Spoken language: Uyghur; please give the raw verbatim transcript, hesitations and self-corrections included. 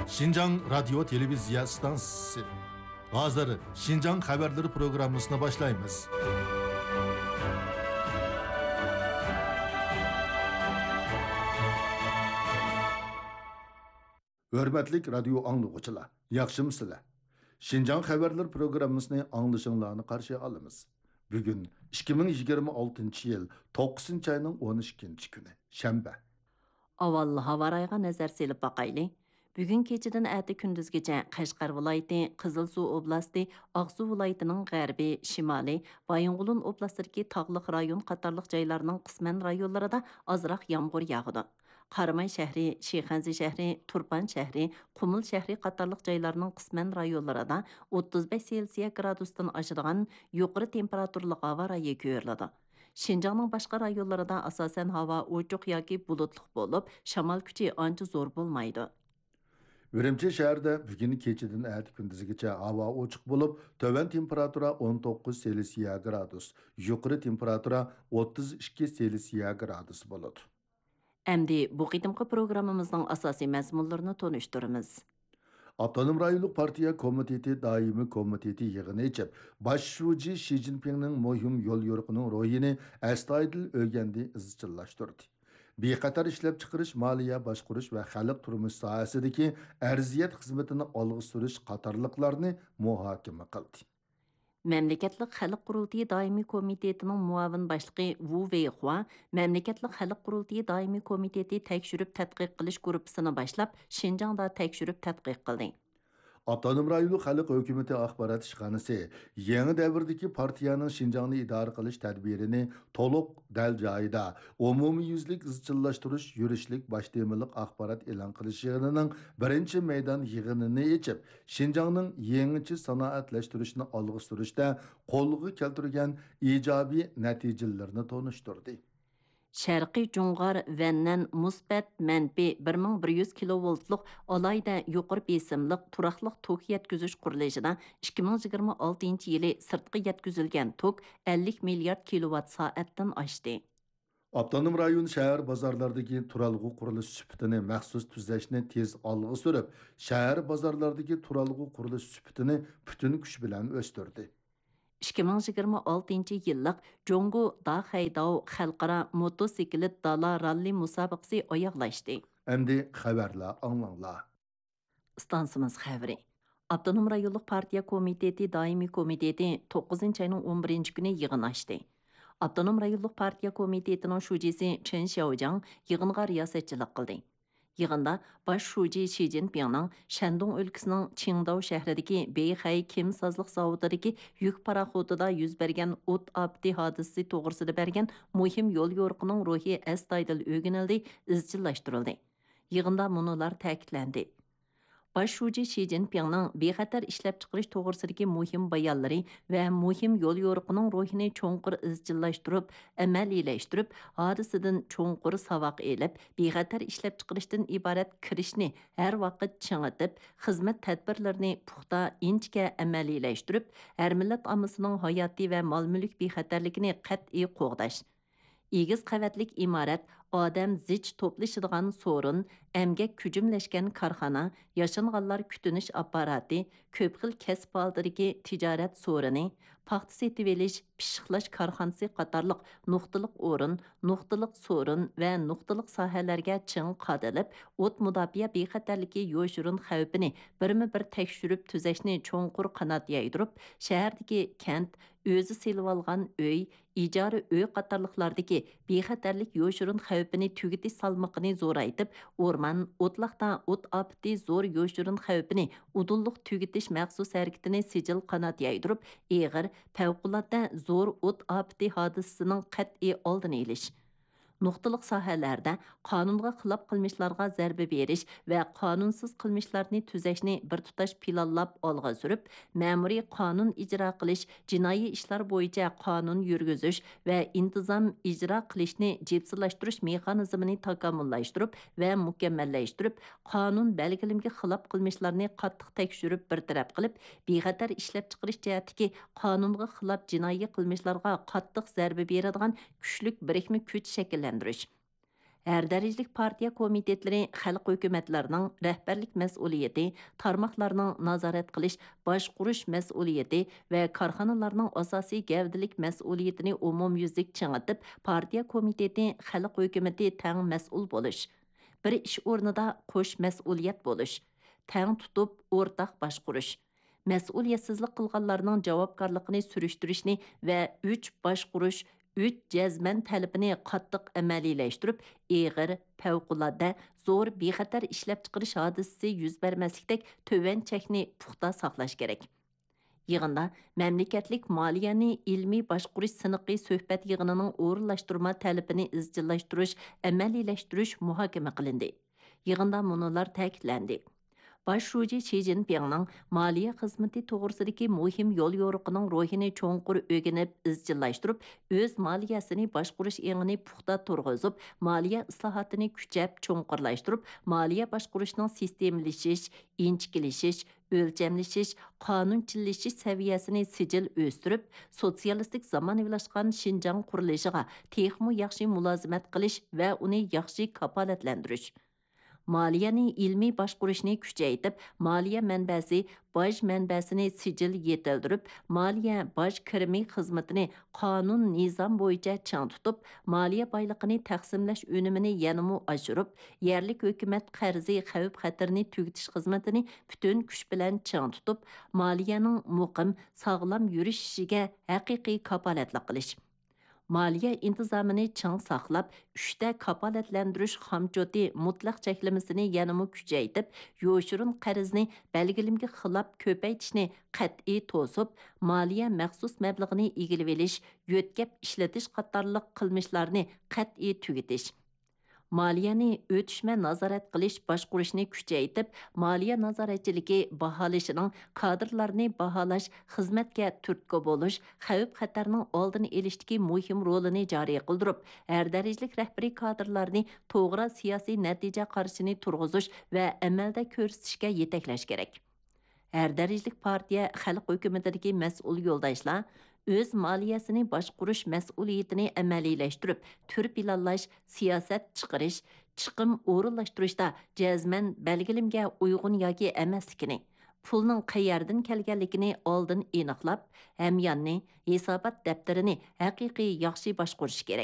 شىنجاڭ رادىيو تېلېۋىزىيە ئىستانسىسى. ھازىر شىنجاڭ خەۋەرلىرى پروگراممىسىنى باشلايمىز. ھۆرمەتلىك رادىيو ئاڭلىغۇچىلار، ياخشىمۇسىلەر؟ شىنجاڭ خەۋەرلىرى پروگراممىسىنى ئاڭلىشىڭلارنى قارشى ئالىمىز. بۈگۈن ئىككى مىڭ يىگىرمە ئالتىنچى يىل توققۇزىنچى ئاينىڭ ئون ئىككىنچى كۈنى، شەنبە. ئاۋۋال ھاۋا رايىغا نەزەر سېلىپ باقايلى. بۈگۈن كېچىدىن ئەتە كۈندۈزگىچە قەشقەر ۋىلايىتى، قىزىلسۇ ئوبلاستى، ئاقسۇ ۋىلايىتىنىڭ غەربى، شىمالى، بايىنغولىن ئوبلاستىدىكى تاغلىق رايون قاتارلىق جايلارنىڭ قىسمەن رايونلىرىدا ئازراق يامغۇر ياغىدۇ. قاراماي شەھىرى، شىخەنزە شەھىرى، تۇرپان شەھىرى، قۇمۇل شەھىرى قاتارلىق جايلارنىڭ قىسمەن رايونلىرىدا ئوتتۇز بەش سېلسىيە گرادۇستىن ئاشىدىغان يۇقىرى تېمپېراتۇرىلىق ھاۋا رايى كۆرۈلىدۇ. شىنجاڭنىڭ باشقا رايونلىرىدا ئاساسەن ھاۋا ئوچۇق ياكى بۇلۇتلۇق بولۇپ، شامال كۈچى ئانچە زور بولمايدۇ. ئۈرۈمچى شەھىرىدە بۈگۈن كېچىدىن ئەتە كۈندۈزگىچە ھاۋا ئوچۇق بولۇپ، تۆۋەن تېمپېراتۇرا ئون توققۇز سېلسىيە گرادۇس، يۇقىرى تېمپېراتۇرا ئوتتۇز ئىككى سېلسىيە گرادۇس بولىدۇ. ئەمدى بۇ قېتىمقى پروگراممىمىزنىڭ ئاساسىي مەزمۇنلىرىنى تونۇشتۇرىمىز. ئاپتونوم رايونلۇق پارتىيە كومىتېتى دائىمىي كومىتېتى يىغىنى ئېچىپ، باش شۇجى شى جىنپىڭنىڭ مۇھىم يوليورۇقىنىڭ روھىنى ئەستايىدىل ئۆگەندى، ئىزچىللاشتۇردى. بىخەتەر ئىشلەپچىقىرىش، مالىيە باشقۇرۇش ۋە خەلق تۇرمۇش ساھەسىدىكى ئەرزىيەت خىزمىتىنى ئالغا سۈرۈش قاتارلىقلارنى مۇھاكىمە قىلدى. مەملىكەتلىك خەلق قۇرۇلتىيى دائىمىي كومىتېتىنىڭ مۇئاۋىن باشلىقى ۋۇ ۋېيخۇا مەملىكەتلىك خەلق قۇرۇلتىيى دائىمىي كومىتېتى تەكشۈرۈپ تەتقىق قىلىش گۇرۇپپىسىنى باشلاپ، شىنجاڭدا تەكشۈرۈپ تەتقىق قىلدى. ئاپتونوم رايونلۇق خەلق ھۆكۈمىتى ئاخبارات ئىشخانىسى يېڭى دەۋردىكى پارتىيەنىڭ شىنجاڭنى ئىدارە قىلىش تەدبىرىنى تولۇق، دەل جايىدا، ئومۇميۈزلۈك ئىزچىللاشتۇرۇش يۈرۈشلۈك باش تېمىلىق ئاخبارات ئېلان قىلىش يىغىنىنىڭ بىرىنچى مەيدان يىغىنىنى ئېچىپ، شىنجاڭنىڭ يېڭىچە سانائەتلەشتۈرۈشنى ئالغا سۈرۈشتە قولغا كەلتۈرگەن ئىجابىي نەتىجىلىرىنى تونۇشتۇردى. شەرقىي جۇڭغار ۋەننەن مۇسبەت مەنپى بىر مىڭ بىر يۈز كىلوۋولتلۇق ئالاھىدە يۇقىرى بېسىملىق تۇراقلىق توك يەتكۈزۈش قۇرۇلۇشىدا ئىككى مىڭ يىگىرمە ئالتىنچى يىلى سىرتقا يەتكۈزۈلگەن توك ئەللىك مىليارد كىلوۋات سائەتتىن ئاشتى. ئاپتونوم رايون شەھەر بازارلاردىكى تۇرالغۇ قۇرۇلۇش سۈپىتىنى مەخسۇس تۈزەشنى تېز ئالغا سۈرۈپ، شەھەر بازارلاردىكى تۇرالغۇ قۇرۇلۇش سۈپىتىنى پۈتۈن كۈچ بىلەن ئۆستۈردى. ئىككى مىڭ يىگىرمە ئالتىنچى يىللىق جۇڭگو داخەيداۋ خەلقئارا موتوسىكلىت دالا راللى مۇسابىقىسى ئاياغلاشتى. ئەمدى خەۋەرلەر ئاڭلاڭلار. ئىستانسىمىز خەۋىرى. ئاپتونوم رايونلۇق پارتىيە كومىتېتى دائىمىي كومىتېتى توققۇزىنچى ئاينىڭ ئون بىرىنچى كۈنى يىغىن ئاچتى. ئاپتونوم رايونلۇق پارتىيە كومىتېتىنىڭ شۇجىسى چېن شياۋجياڭ يىغىنغا رىياسەتچىلىك قىلدى. يىغىندا باش شۇجى شى جىنپىڭنىڭ شەندۇڭ ئۆلكىسىنىڭ چىڭداۋ شەھىرىدىكى بېيخەي كېمە سازلىق زاۋۇتىدىكى يۈك پاراخوتىدا يۈز بەرگەن ئوت ئاپىتى ھادىسىسى توغرىسىدا بەرگەن مۇھىم يوليورۇقىنىڭ روھى ئەستايىدىل ئۆگىنىلدى، ئىزچىللاشتۇرۇلدى. يىغىندا مۇنۇلار تەكىتلەندى. باش شۇجى شى جىنپىڭنىڭ بىخەتەر ئىشلەپچىقىرىش توغرىسىدىكى مۇھىم بايانلىرى ۋە مۇھىم يوليورۇقىنىڭ روھىنى چوڭقۇر ئىزچىللاشتۇرۇپ، ئەمەلىيلەشتۈرۈپ، ھادىسىدىن چوڭقۇر ساۋاق ئېلىپ، بىخەتەر ئىشلەپچىقىرىشتىن ئىبارەت كىرىشنى ھەر ۋاقىت چىڭىتىپ، خىزمەت تەدبىرلىرىنى پۇختا، ئىنچىكە ئەمەلىيلەشتۈرۈپ، ھەر مىللەت ئاممىسىنىڭ ھاياتىي ۋە مال-مۈلۈك بىخەتەرلىكىنى قەتئىي قوغداش، ئېگىز قەۋەتلىك ئىمارەت، ئادەم زىچ توپلىشىدىغان سورۇن، ئەمگەك كۈجۈملەشكەن كارخانا، ياشانغانلار كۈتۈنۈش ئاپپاراتى، كۆپ خىل كەسىپ ھالىتىدىكى تىجارەت سورۇنى، پاختا سېتىۋېلىش، پىششىقلاش كارخانىسى قاتارلىق نۇقتىلىق ئورۇن، نۇقتىلىق سورۇن ۋە نۇقتىلىق ساھەلەرگە چىڭ قادىلىپ، ئوت مۇداپىئە بىخەتەرلىكى يوشۇرۇن خەۋپىنى بىرمۇ بىر تەكشۈرۈپ تۈزەشنى چوڭقۇر قانات يايدۇرۇپ، شەھەردىكى كەنت، ئۆزى سېلىۋالغان ئۆي، ئىجارە ئۆي قاتارلىقلاردىكى بىخەتەرلىك يوشۇرۇن خەۋپىنى تۈگىتىش سالمىقىنى زورايتىپ، ئورمان، ئوتلاقتا ئوت ئاپىتى زور يوشۇرۇن خەۋپىنى ئۇدۇللۇق تۈگىتىش مەخسۇس ھەرىكىتىنى سىجىل قانات يايدۇرۇپ، ئېغىر، پەۋقۇلئاددە زور ئوت ئاپىتى ھادىسىسىنىڭ قەتئىي ئالدىنى ئېلىش. نۇقتىلىق ساھەلەردە قانۇنغا خىلاپ قىلمىشلارغا زەربە بېرىش ۋە قانۇنسىز قىلمىشلارنى تۈزەشنى بىر تۇتاش پىلانلاپ ئالغا سۈرۈپ، مەمۇرىي قانۇن ئىجرا قىلىش، جىنايى ئىشلار بويىچە قانۇن يۈرگۈزۈش ۋە ئىنتىزام ئىجرا قىلىشنى جىپسىلاشتۇرۇش مېخانىزمىنى تاكامۇللاشتۇرۇپ ۋە مۇكەممەللەشتۈرۈپ، قانۇن بەلگىلىمىگە خىلاپ قىلمىشلارنى قاتتىق تەكشۈرۈپ بىر تەرەپ قىلىپ، بىخەتەر ئىشلەپچىقىرىش جەھەتتىكى قانۇنغا خىلاپ جىنايى قىلمىشلارغا قاتتىق زەربە بېرىدىغان كۈچلۈك بىرىكمە كۈچ شەكىللەندۈرۈش. ھەر دەرىجىلىك پارتىيە كومىتېتلىرى خەلق ھۆكۈمەتلەرنىڭ رەھبەرلىك مەسئۇلىيىتى، تارماقلارنىڭ نازارەت قىلىش، باشقۇرۇش مەسئۇلىيىتى ۋە كارخانىلارنىڭ ئاساسىي گەۋدىلىك مەسئۇلىيىتىنى ئومۇميۈزلۈك چىڭىتىپ، پارتىيە كومىتېتى، خەلق ھۆكۈمىتى تەڭ مەسئۇل بولۇش، بىر ئىش ئورنىدا قوش مەسئۇلىيەت بولۇش، تەڭ تۇتۇپ ئورتاق باشقۇرۇش، مەسئۇلىيەتسىزلىك قىلغانلارنىڭ جاۋابكارلىقىنى سۈرۈشتۈرۈشنى ۋە ئۈچ باشقۇرۇش، ئۈچ جەزمەن تەلىپىنى قاتتىق ئەمەلىيلەشتۈرۈپ، ئېغىر، پەۋقۇلئاددە، زور بىخەتەر ئىشلەپچىقىرىش ھادىسىسى يۈز بەرمەسلىكتەك تۆۋەن چەكنى پۇختا ساقلاش كېرەك. يىغىندا مەملىكەتلىك مالىيەنى ئىلمىي باشقۇرۇش سىنىقى سۆھبەت يىغىنىنىڭ ئورۇنلاشتۇرما تەلىپىنى ئىزچىللاشتۇرۇش، ئەمەلىيلەشتۈرۈش مۇھاكىمە قىلىندى. يىغىندا مۇنۇلار تەكىتلەندى. باش شۇجى شى جىنپىڭنىڭ مالىيە خىزمىتى توغرىسىدىكى مۇھىم يوليورۇقىنىڭ روھىنى چوڭقۇر ئۆگىنىپ ئىزچىللاشتۇرۇپ، ئۆز مالىيەسىنى باشقۇرۇش ئېڭىنى پۇختا تۇرغۇزۇپ، مالىيە ئىسلاھاتىنى كۈچەپ چوڭقۇرلاشتۇرۇپ، مالىيە باشقۇرۇشنىڭ سىستېمىلىشىش، ئىنچىكىلىشىش، ئۆلچەملىشىش، قانۇنچىللىشىش سەۋىيەسىنى سىجىل ئۆستۈرۈپ، سوتسىيالىستىك زامانىۋىلاشقان شىنجاڭ قۇرۇلۇشىغا تېخىمۇ ياخشى مۇلازىمەت قىلىش ۋە ئۇنى ياخشى كاپالەتلەندۈرۈش. مالىيەنى ئىلمىي باشقۇرۇشنى كۈچەيتىپ، مالىيە مەنبەسى، باج مەنبەسىنى سىجىل يېتىلدۈرۈپ، مالىيە، باج كىرىمى خىزمىتىنى قانۇن، نىزام بويىچە چىڭ تۇتۇپ، مالىيە بايلىقىنى تەقسىملەش ئۈنۈمىنى يەنىمۇ ئاشۇرۇپ، يەرلىك ھۆكۈمەت قەرزى خەۋپ-خەتىرىنى تۈگىتىش خىزمىتىنى پۈتۈن كۈچ بىلەن چىڭ تۇتۇپ، مالىيەنىڭ مۇقىم، ساغلام يۈرۈشۈشىگە ھەقىقىي كاپالەتلىك قىلىش. مالىيە ئىنتىزامىنى چىڭ ساقلاپ، ئۈچتە كاپالەتلەندۈرۈش خامچوتى مۇتلەق چەكلىمىسىنى يەنىمۇ كۈچەيتىپ، يوشۇرۇن قەرزنى بەلگىلىمىگە خىلاپ كۆپەيتىشنى قەتئىي توسۇپ، مالىيە مەخسۇس مەبلىغىنى ئىگىلىۋېلىش، يۆتكەپ ئىشلىتىش قاتارلىق قىلمىشلارنى قەتئىي تۈگىتىش. مالىيەنى ئۆتۈشمە نازارەت قىلىش، باشقۇرۇشنى كۈچەيتىپ، مالىيە نازارەتچىلىكى باھالىشىنىڭ كادىرلارنى باھالاش، خىزمەتكە تۈرتكە بولۇش، خەۋپ-خەتەرنىڭ ئالدىنى ئېلىشتىكى مۇھىم رولىنى جارى قىلدۇرۇپ، ھەر دەرىجىلىك رەھبىرىي كادىرلارنى توغرا سىياسىي نەتىجە قارىشىنى تۇرغۇزۇش ۋە ئەمەلدە كۆرسىتىشكە يېتەكلەش كېرەك. ھەر دەرىجىلىك پارتىيە، خەلق ھۆكۈمىتىدىكى مەسئۇل يولداشلار ئۆز مالىيەسىنى باشقۇرۇش مەسئۇلىيىتىنى ئەمەلىيلەشتۈرۈپ، تۈر پىلانلاش، سىياسەت چىقىرىش، چىقىم ئورۇنلاشتۇرۇشتا جەزمەن بەلگىلىمىگە ئۇيغۇن ياكى ئەمەسلىكىنى، پۇلنىڭ قەيەردىن كەلگەنلىكىنى ئالدىن ئېنىقلاپ، ھەمياننى، ھېسابات دەپتىرىنى ھەقىقىي ياخشى باشقۇرۇشى كېرەك.